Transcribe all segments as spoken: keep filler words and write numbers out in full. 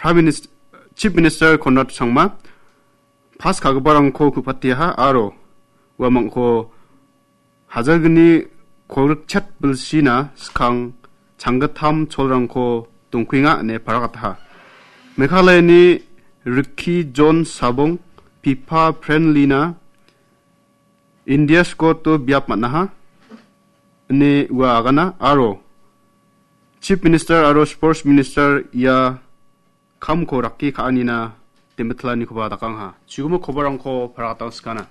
Prime Minister, Chief Minister Conrad Sangma pas ka·giparangko ku·patiaha aro uamangko hajalgni kolgrik chet bilsina skang changgittam cholrangko dongkuenga ine paragataha. Meghalayani Rikki John Sabong, Pipa Friendlyna India skoto biap man·aha ine ua agana aro Chief Minister aro Sports Minister ia kamko rakki ka·anina demitlani koba dakangha. Chigumo kobarangko paragatangsgana.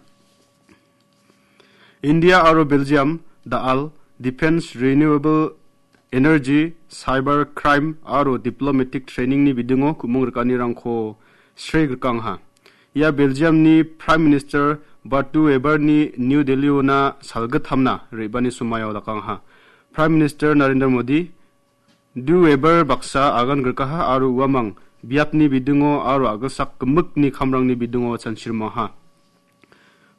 India aro Belgium da·al defense, renewable energy, cyber crime aro diplomatic trainingni bidingo ku·mong rikanirangko sre grikangha. Ia Belgiumni Prime Minister Bart De Weverni New Delhiona salgittamna re·bani somaio dakangha. Prime Minister Narendra Modi, De Wever baksa agan grikaha aro uamang biapni bidingo aro a·gilsak gimikni kamrangni bidingo chanchirimaha.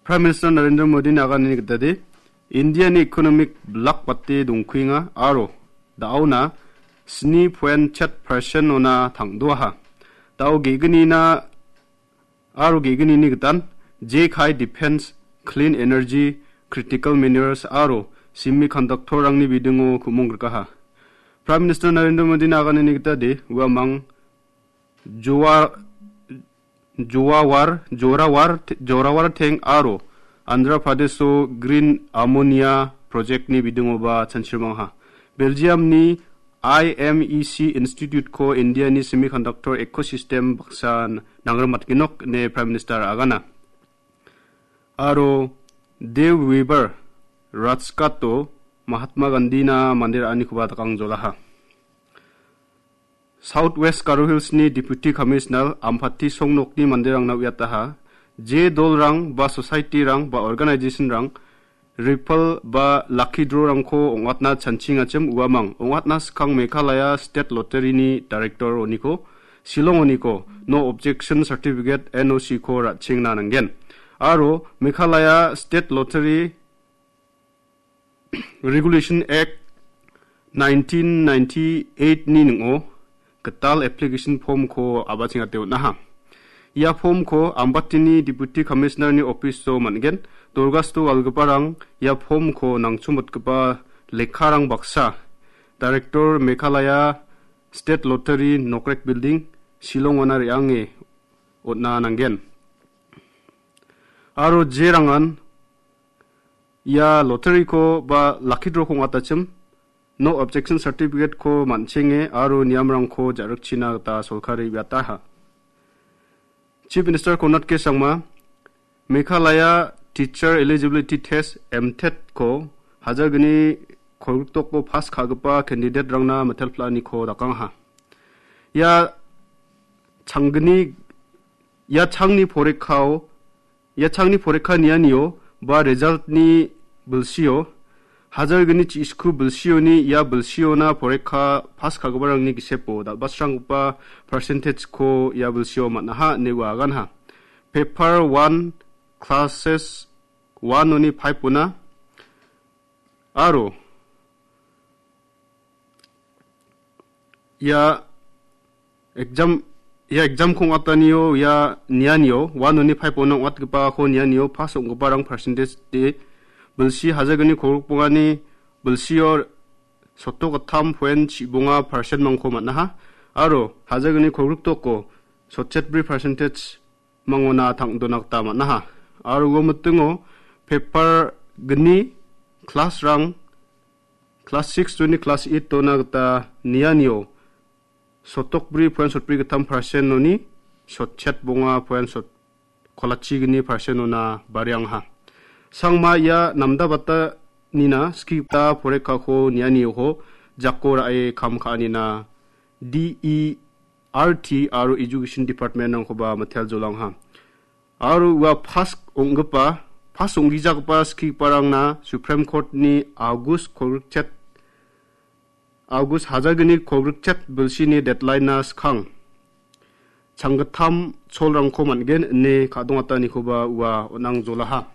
Prime Minister Narendra Modini aganini gitade, Indiani economic blak bate dongkuenga aro da·ona sni poen chet percent-ona tang·doaha. Da·o ge·gnina aro ge·gnini gitan J K I Defense, Clean Energy, Critical Minerals aro Semiconductor-rangni bidingo ku·mong grikaha. Prime Minister Narendra Modini aganini gitade uamang Joa-, Joawar, Jorawar, Jorawar Teng aro Andhra Pradesho Green Ammonia Project-ni bidingoba chanchirmangha. Belgium-ni I M E C Institute-ko India-ni semiconductor ecosystem baksa nangrimatgenok ine Prime Minister agana. Aro De Wever Rajghat-o Mahatma Gandhi-na mande ra·anikoba dakangjolaha. South West Garo Hills-ni Deputy Commissioner Ampati Songnokni manderangna uiataha, je dolrang ba society-rang ba organization-rang raffle ba lucky draw-rangko ong·atna chanchingachim uamang, ong·atna skang Meghalaya State Lottery-ni Director-oniko, Shillong-oniko, no objection certificate, N O C-ko ra·chengna nanggen. Aro Meghalaya State Lottery Regulation Act nineteen ninety-eight-ni ning·o gital application form-ko a·bachengate on·aha. Ia form-ko Ambatini Deputy Commissioner-ni office-o man·gen. Dorgasto galgiparang ia form-ko nangchomotgipa lekkarang baksa Director Meghalaya State Lottery Nokrek Building, Shillong-ona re·ange on·a nanggen. Aro jerangan ia lottery-ko ba lucky draw-ko ong·atachim, no objection certificate-ko man·chenge aro niamrangko ja·rikchina gita sorkari uiataha. Chief Minister Conrad K Sangma, Meghalaya Teacher Eligibility Test, M TET-ko hajalgni kolgriktoko pass ka·gipa candidate-rangna mitelpla·aniko dakangaha. Ia changgni, ia changni porikao Ia changni porikha nianio ba result-ni bilsio, hajalgni chi·sku bilsioni ia bilsiona porikha pass ka·giparangni gisepo dal·basranggipa percentage-ko ia bilsio man·aha ine ua aganha. Paper one, classes one-oni five-ona aro ia exam, ia exam-ko ong·atanio, ia nianio, one-oni five-ona ong·atgipako nianio pass ong·giparang percentage de bilsi hajalgni kolgrikbongani bilsio sotto gittam point chibonga percent-mangko man·aha. Aro hajalgni kolgriktoko sotchetbri percentage mangona tang·dona gita man·aha. Aro ua mitingo paper gni class-rang, class six-oni class eight-ona gita nianio sotokbri point sotbri gittam percent-oni sotchet bonga point sot-, kolachigni percent-ona bariangha. Sangma ia namdabatanina skigita porikako nianioko jako ra·e kam ka·anina D E R T aro Education Department-rangkoba miteljolangha. Aro ua pass ong·gipa, pass ong·gijagipa skigiparangna Supreme Court-ni August kolgrikchet, August hajalgni kolgrikchet bilsini deadline-na skang changgittam cholrangko man·gen ine ka·dongatanikoba ua on·angjolaha.